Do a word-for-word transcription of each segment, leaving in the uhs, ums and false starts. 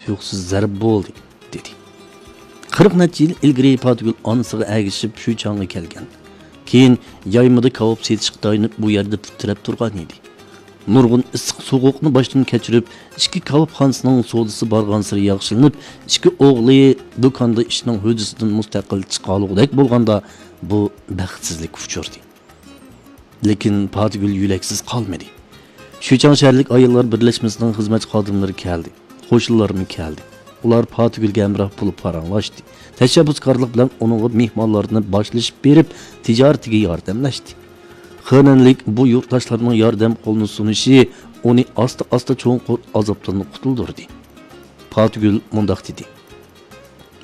تۇيۇقسىز زەربە بولدى، دېدى. قىرىق نەچچە يىل ئىلگىرى پاتىگۈل ئانىسىغا ئەگىشىپ شۈيچاڭغا كەلگەن. كېيىن يايمىدا كاۋاپ سېتىشقا تايىنىپ، بۇ يەردە پۇت تىرەپ تۇرغان ئىدى. نۇرغۇن ئىسسىق سوغۇقنى باشتىن كەچۈرۈپ، ئىچكى كاۋاپخانىسىنىڭ سودىسى بارغانسېرى ياخشىلىنىپ، ئىككى ئوغلى دۇكاندا ئىشنىڭ ھۆددىسىدىن مۇستەقىل چىقالىغۇدەك بولغاندا، بۇ بەختسىزلىك ئۇچرىدى. لېكىن پاتىگۈل يۆلەكسىز قالمىدى. شۈيچاڭ شەھەرلىك ئاياللار بىرلەشمىسىنىڭ خىزمەتچى خادىملىرى كەلدى. قوشنىلارمۇ كەلدى. ئۇلار پاتىگۈلگە ھەمراھ بولۇپ پاراڭلاشتى. تەشەببۇسكارلىق بىلەن ئۇنىڭغا مېھمانلارنى باشلىشىپ بېرىپ، تىجارىتىگە ياردەملەشتى. خېنەنلىك بۇ يۇرتداشلارنىڭ ياردەم قولىنى سۇنۇشى ئۇنى ئاستا-ئاستا چوڭقۇر ئازابتىن قۇتۇلدۇردى. پاتىگۈل مۇنداق دېدى: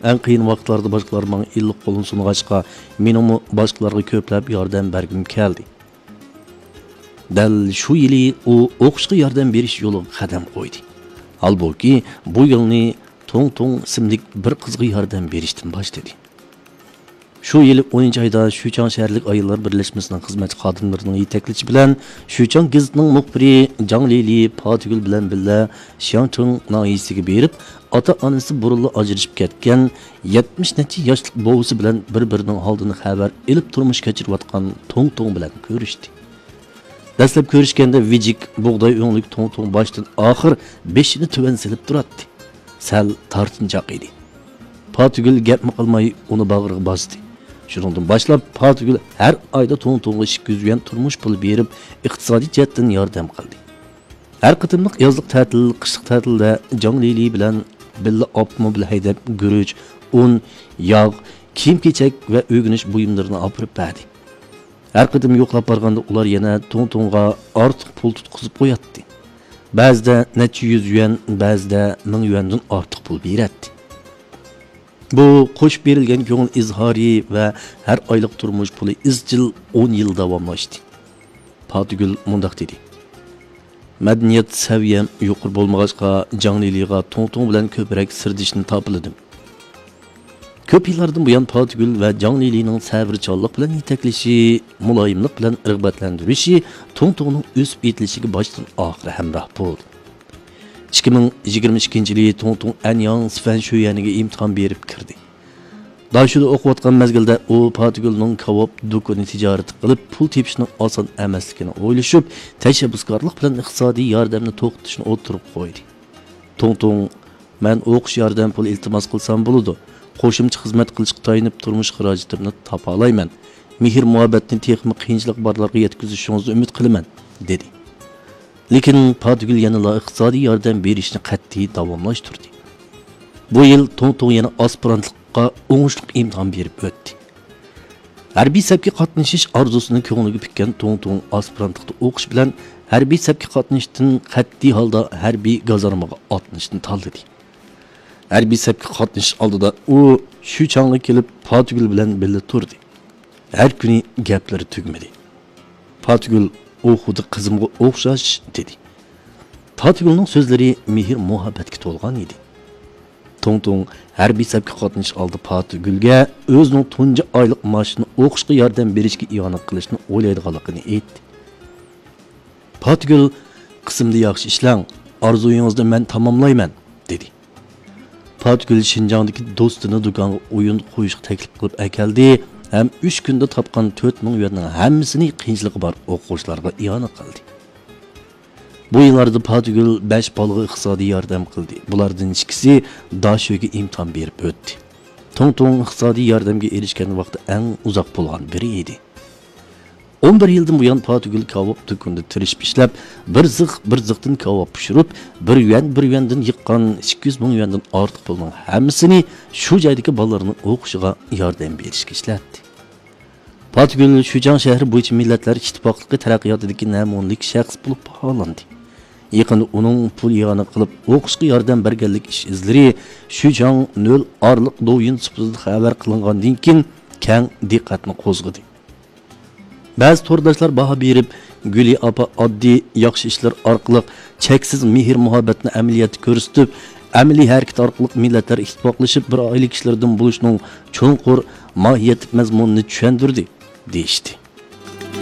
ئەڭ قىيىن ۋاقىتلاردا باشقىلار ماڭا ئىللىق قولىنى سۇنغاچقا، مېنىڭمۇ باشقىلارغا كۆپلەپ ياردەم بەرگۈم كەلدى. دەل شۇ يىلى ئۇ ئوقۇشقا ياردەم بېرىش يولىغا قەدەم قويدى. ھالبۇكى، بۇ يولنى توڭ توڭ ئىسىملىك بىر قىزغا ياردەم بېرىشتىن باشلىدى. شۇ يىلى ئونىنچى ئايدا شۈيچاڭ شەھەرلىك ئاياللار بىرلەشمىسىنىڭ خىزمەتچى خادىملىرىنىڭ يېتەكلىشى بىلەن شۈيچاڭ گېزىتىنىڭ مۇخبىرى جاڭ لىلى پاتىگۈل بىلەن بىللە شياڭچىڭ ناھىيەسىگە بېرىپ، ئاتا-ئانىسى بۇرۇنلا ئاجرىشىپ كەتكەن يەتمىش نەچچە ياشلىق بوۋىسى بىلەن بىر-بىرىنىڭ ھالىدىن خەۋەر ئېلىپ تۇرمۇش كەچۈرۈۋاتقان توڭ توڭ بىلەن كۆرۈشتى. دەسلەپ كۆرۈشكەندە ۋىجىك، بۇغداي ئۆڭلۈك توڭ توڭ باشتىن ئاخىر بېشىنى تۆۋەن سېلىپ تۇراتتى. سەل تارتىنچاق ئىدى. پاتىگۈل گەپمۇ قىلماي ئۇنى باغرىغا باستى. شۇنىڭدىن باشلاپ پاتىگۈل ھەر ئايدا توڭ توڭغا ئىككى يۈز يۈەن تۇرمۇش پۇلى بېرىپ، ئىقتىسادىي جەھەتتىن ياردەم قىلدى. ھەر قېتىملىق يازلىق تەتىل، قىشلىق تەتىلدە جاڭ لىلى بىلەن بىللە ئاپتوموبىل ھەيدەپ، گۈرۈچ، ئۇن، ياغ، كىيىم-كېچەك ۋە ئۆگىنىش بۇيۇملىرىنى ئاپىرىپ بەردى. ھەر قېتىم يوقلاپ بارغاندا ئۇلار يەنە توڭ توڭغا ئارتۇق پۇل تۇتقۇزۇپ قوياتتى. بەزىدە نەچچە يۈز يۈەن، بەزىدە مىڭ يۈەندىن ئارتۇق پۇل بېرەتتى. بۇ قوشۇپ بېرىلگەن كۆڭۈل ئىزھارى ۋە ھەر ئايلىق تۇرمۇش پۇلى ئىزچىل ئون يىل داۋاملاشتى. پاتىگۈل مۇنداق دېدى: مەدەنىيەت سەۋىيەم يۇقىرى بولمىغاچقا، جاڭ لىلىغا توڭ توڭ بىلەن كۆپرەك سىردىشىشنى تاپىلىدىم. كۆپ يىللاردىن بۇيان پاتىگۈل ۋە جاڭ لىلىنىڭ سەۋرچانلىق بىلەن يېتەكلىشى، مۇلايىملىق بىلەن رىغبەتلەندۈرۈشى توڭ توڭنىڭ ئۆسۈپ يېتىلىشىگە باشتىن ئاخىر ھەمراھ بولدى. ئىككى مىڭ يىگىرمە ئىككىنچى يىلى توڭ توڭ ئەنياڭ سىفەن شۆيۈەنىگە ئىمتىھان بېرىپ كىردى. داشۆدە ئوقۇۋاتقان مەزگىلدە ئۇ پاتىگۈلنىڭ كاۋاپ دۇكىنى تىجارىتى قىلىپ پۇل تېپىشنىڭ ئاسان ئەمەسلىكىنى ئويلىشىپ، تەشەببۇسكارلىق بىلەن ئىقتىسادىي ياردەمنى توختىتىشنى ئوتتۇرىغا قويدى. توڭ توڭ، مەن ئوقۇش ياردەم پۇلى ئىلتىماس قىلسام بولىدۇ. قوشۇمچە خىزمەت قىلىشقا تايىنىپ تۇرمۇش خىراجىتىمنى تاپالايمەن. مېھىر مۇھەببەتنى تېخىمۇ قىيىنچىلىقى بارلارغا يەتكۈزۈشىڭىزنى ئۈمىد قىلىمەن، دېدى. لېكىن پاتىگۈل يەنىلا ئىقتىسادىي ياردەم بېرىشنى قەتئىي داۋاملاشتۇردى. بۇ يىل توڭ توڭ يەنە ئاسپىرانتلىققا ئوڭۇشلۇق ئىمتىھان بېرىپ ئۆتتى. ھەربىي سەپكە قاتنىشىش ئارزۇسىنى كۆڭلىگە پۈككەن توڭ توڭ ئاسپىرانتلىقتا ئوقۇش بىلەن ھەربىي سەپكە قاتنىشىشتىن قەتئىي ھالدا ھەربىي گازارمىغا ئاتلىنىشنى تاللىدى. ھەربىي سەپكە قاتنىشىش ئالدىدا ئۇ شۈيچاڭغا كېلىپ پاتىگۈل بىلەن بىللە تۇردى. ھەر كۈنى گەپلىرى تۈگىمىدى. پاتىگۈل: «ئۇ خۇددى قىزىمغا ئوخشاش» دېدى. پاتىگۈلنىڭ سۆزلىرى مېھىر مۇھەببەتكە تولغان ئىدى. توڭ توڭ ھەربىي سەپكە قاتنىشىش ئالدىدا پاتىگۈلگە ئۆزىنىڭ تۇنجى ئايلىق مائاشىنى ئوقۇشقا ياردەم بېرىشكە ئىئانە قىلىشنى ئويلايدىغانلىقىنى ئېيتتى. پاتىگۈل: «قىسىمدا ياخشى ئىشلەڭ، ئارزۇيىڭىزنى مەن تاماملايمەن» دېدى. پاتىگۈل شىنجاڭدىكى دوستىنى دۇكانغا ئويۇن قويۇشقا تەكلىپ قىلىپ ئەكەلدى ھەم ئۈچ كۈندە تاپقان تۆت مىڭ يۈەننىڭ ھەممىسىنى قىيىنچىلىقى بار ئوقۇغۇچىلارغا ئىئانە قىلدى. بۇ يىللاردا پاتىگۈل بەش بالىغا ئىقتىسادىي ياردەم قىلدى. بۇلاردىن ئىككىسى داشۆگە ئىمتىھان بېرىپ ئۆتتى. توڭ توڭ ئىقتىسادىي ياردەمگە ئېرىشكەن ۋاقتى ئەڭ ئۇزاق بولغان بىرى ئىدى. ئون بىر يىلدىن بۇيان پاتىگۈل كاۋاپ دۇكىنىدا تىرىشىپ ئىشلەپ، بىر زىخ، بىر زىختىن كاۋاپ پىشۇرۇپ، بىر يۈەن، بىر يۈەندىن يىغقان ئىككى يۈز مىڭ يۈەندىن ئارتۇق پۇلنىڭ ھەممىسىنى شۇ جايدىكى بالىلارنىڭ ئوقۇشىغا ياردەم بېرىشكە ئىشلەتتى. پاتىگۈل شىجاڭ شەھىرى بويىچە مىللەتلەر ئىتتىپاقلىقى تەرەققىياتىدىكى نەمۇنىلىك شەخس بولۇپ باھالاندى. يېقىندا ئۇنىڭ پۇل ئىئانە قىلىپ ئوقۇشقا ياردەم بەرگەنلىك ئىش ئىزلىرى شىجاڭ نۆل ئارىلىق دوۋيىن سۇپىسىدا خەۋەر قىلىنغاندىن كېيىن كەڭ دىققەتنى قوزغىدى. بەزى تورداشلار باھا بېرىپ، گۈلى ئاپا ئاددىي ياخشى ئىشلار ئارقىلىق چەكسىز مېھىر-مۇھەببەتنى ئەمەلىيەتتە كۆرسىتىپ، ئەمەلىي ھەرىكەت ئارقىلىق مىللەتلەر ئىتتىپاقلىشىپ بىر ئائىلە كىشىلىرىدىن بولۇشنىڭ چوڭقۇر ماھىيەتلىك مەزمۇنىنى چۈشەندۈردى، دېيىشتى.